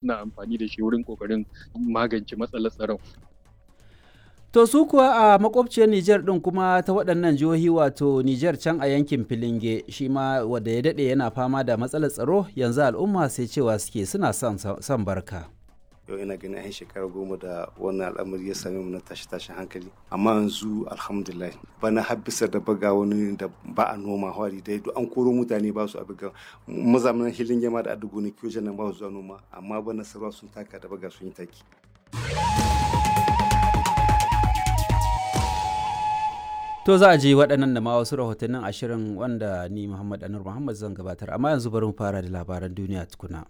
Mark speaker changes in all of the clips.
Speaker 1: Suna amfani da shi wurin kokarin magance matsalar tsaron.
Speaker 2: To su kuwa a makwabciyar Nijar ɗin kuma ta waɗannan jihohi, wato Nijar can a yankin Filinge, shi ma wanda ya daɗe yana fama da matsalar tsaro, yanzu al'umma sai cewa suke suna son barka.
Speaker 3: Yau ina ganin an shekara 10 da wannan al'amari ya same mu na tashi tashin hankali, amma yanzu alhamdulillah, bana har bisa da baga wani da ba a noma hwari dai duk an koro mutane ba su a buga mazamanin hilin yama da adugo ne kiyo nan ba su zuwa noma, amma bana sarwa sun taka da baga sun yi taki.
Speaker 2: To za a ji waɗannan da ma wasu rahotannin 20 wanda ni Muhammad Anur Muhammad zan gabatar, amma yanzu bari mu fara da labaran duniya tukuna.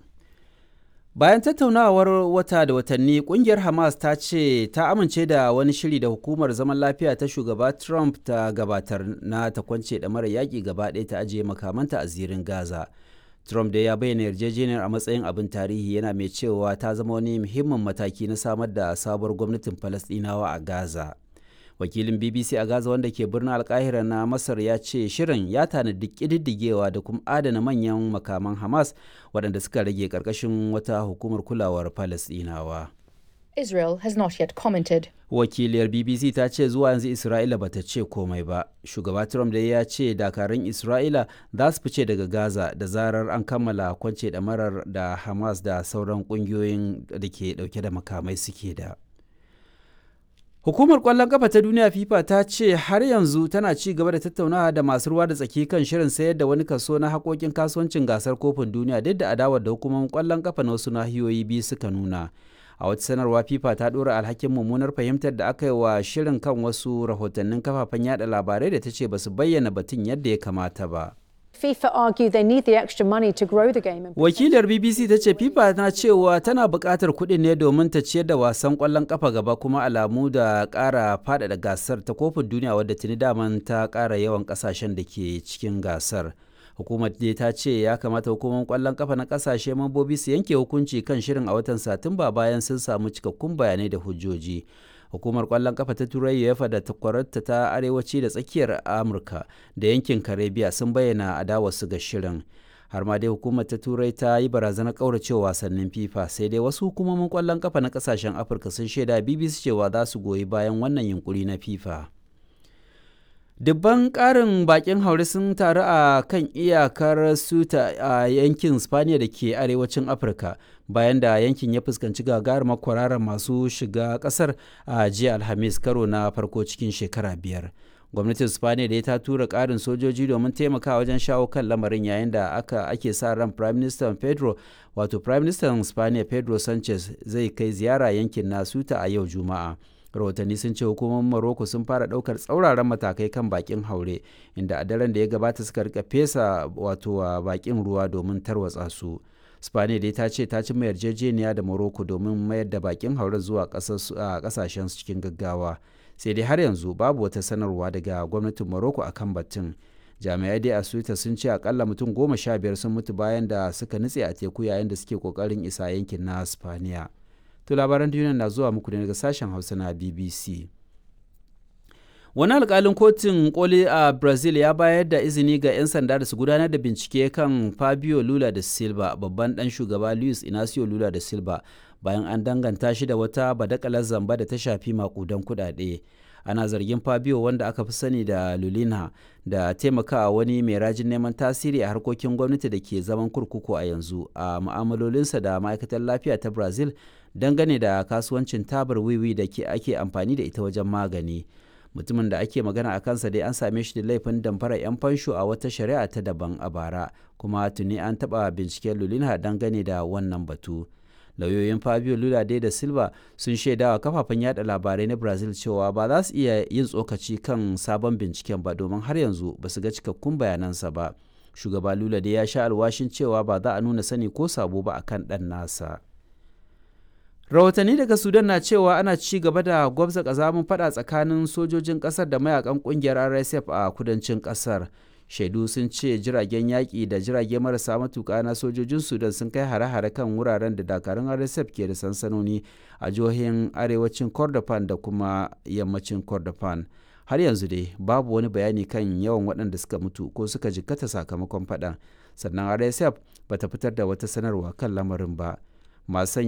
Speaker 2: Bayan tattaunawar wata da watanni, kungiyar Hamas ta ce ta amince da wani shiri da hukumar zaman lafiya ta shugaba Trump ta gabatar na ta kwance da mara yaƙi gaba ɗaya ta ajiye makamanta a zirin Gaza. Trump da ya bayyana yarjejeniyar a matsayin abin tarihi, yana mai cewa ta zama wani muhimmin mataki na samar da sabuwar gwamnatin Falasɗinawa a Gaza. Wakilin BBC a Gaza wanda ke birnin Alkahira na Masar ya ce shirin ya tanadi ƙididdigewa da kuma adana manyan makaman Hamas waɗanda suka rage ƙarƙashin wata hukumar kulawar Falasɗinawa.
Speaker 4: Israel has not yet commented.
Speaker 2: Wakiliyar BBC ta ce zuwa yanzu Isra'ila bata ce komai ba. Shugaba Trump dai ya ce dakarun Isra'ila za su fice daga Gaza da zarar an kammala kwance ɗamarar da Hamas da sauran ƙungiyoyin da ke ɗauke da makamai suke da. Hukumar ƙwallon ƙafa ta duniya FIFA ta ce har yanzu tana ci gaba da tattaunawa da masu ruwa da tsaki kan shirin sayar da wani kaso na haƙoƙin kasuwancin gasar kofin duniya, duk da adawar da hukumomin ƙwallon ƙafa na wasu nahiyoyi biyu suka nuna. A wata sanarwa, FIFA ta ɗora alhakin mummunar fahimtar da aka yi wa shirin kan wasu rahotannin kafafen yada labarai da ta ce ba su bayyana batun yadda ya kamata ba.
Speaker 4: FIFA argue they need the extra money to grow the game.
Speaker 2: Wakilar BBC ta ce FIFA na cewa tana buƙatar kuɗin ne domin ta ciyar da wasan ƙwallon ƙafa gaba, kuma alamu da ƙara faɗaɗa gasar ta kofin duniya wadda tuni daman ta ƙara yawan ƙasashen da ke cikin gasar. Hukumar dai ta ce ya kamata hukumar ƙwallon ƙafa na ƙasashe mambobi su yanke hukunci kan shirin a watan Satumba bayan sun samu cikakkun bayanai da hujjoji. Hukumar kwallon kafa ta Turai UEFA da takwararta ta arewaci da tsakiyar Amurka da yankin Karibiya sun bayyana adawarsu ga shirin. Har ma dai hukumar ta Turai ta yi barazanar kauracewa wasannin FIFA. Sai dai wasu hukumomin kwallon kafa na kasashen Afirka sun shaida BBC cewa za su goyi bayan wannan yunkuri na FIFA. Dubban ƙarin bakin haure sun taru a kan iyakar Suta a yankin Spaniya da ke arewacin Afirka, bayan da yankin ya fuskanci gagarumar kwararar masu shiga ƙasar a jiya Alhamis, karo na farko cikin shekara 5. Gwamnatin Spaniya da ta tura ƙarin sojoji domin taimakawa wajen shawo kan lamarin, yayin da aka ake sa ran Prime Minister Pedro, wato Prime Minister Spaniya Pedro Sanchez, zai kai ziyara yankin na Suta a yau Juma'a. Rahotanni sun ce hukumomin Morocco sun fara daukar tsauraran matakai kan bakin haure, inda a daren da ya gabata suka rika fesa wato wa bakin ruwa domin tarwatsa su. Spaniya dai ta ce ta ci yarjejeniya da Morocco domin mayar da bakin haure zuwa kasashen su cikin gaggawa. Sai dai har yanzu babu wata sanarwa daga gwamnatin Morocco akan batun. Jami'ai dai a Suita sun ce akalla mutum 15 sun mutu bayan da suka nutse a teku yayin da suke kokarin isa yankin na Spaniya. To labaran duniya na zuwa muku ne daga sashen Hausa na BBC. Wani alkalin kotun koli a Brazil ya bayar da izini ga 'yan sanda da su gudanar da bincike kan Fabio Lula da Silva, babban dan shugaba Luis Inacio Lula da Silva, bayan an danganta shi da wata badakalar zamba da ta shafi makudan kudade. Ana zargin Fabio, wanda aka fi sani da Lulina, da taimakawa wani mai rajin neman tasiri a harkokin gwamnati da ke zaman kurkuku a yanzu a mu'amalolinsa da ma'aikatar lafiya ta Brazil dangane da kasuwancin tabar wiwi da ke ake amfani da ita wajen magani. Mutumin da ake magana a kansa dai an same shi da laifin damfara 'yan fansho a wata shari'a ta daban a bara, kuma tuni an taɓa binciken Lulina dangane da wannan batu. Lauyoyin Fabio Lula dai da Silva sun shaidawa kafafen yada labarai na Brazil cewa ba za su iya yin tsokaci kan sabon binciken ba domin har yanzu ba su ga cikakkun bayanansa ba. Shugaba Lula dai ya sha alwashin cewa ba za a nuna sani ko sabo ba akan ɗan nasa. Rahotanni daga Sudan na cewa ana ci gaba da gwabza kazamin fada tsakanin sojojin kasar da mayakan kungiyar RSF a kudancin kasar. Shaidu sun ce jiragen yaƙi da jirage marasa matuƙa na sojojin Sudan sun kai hare-hare kan wuraren da dakarun RSF ke da sansanoni a jihohin arewacin Kordofan da kuma yammacin Kordofan. Har yanzu dai babu wani bayani kan yawan waɗanda suka mutu ko suka jikkata sakamakon faɗan. Sannan RSF bata fitar da wata sanarwa kan lamarin ba. Masu sanya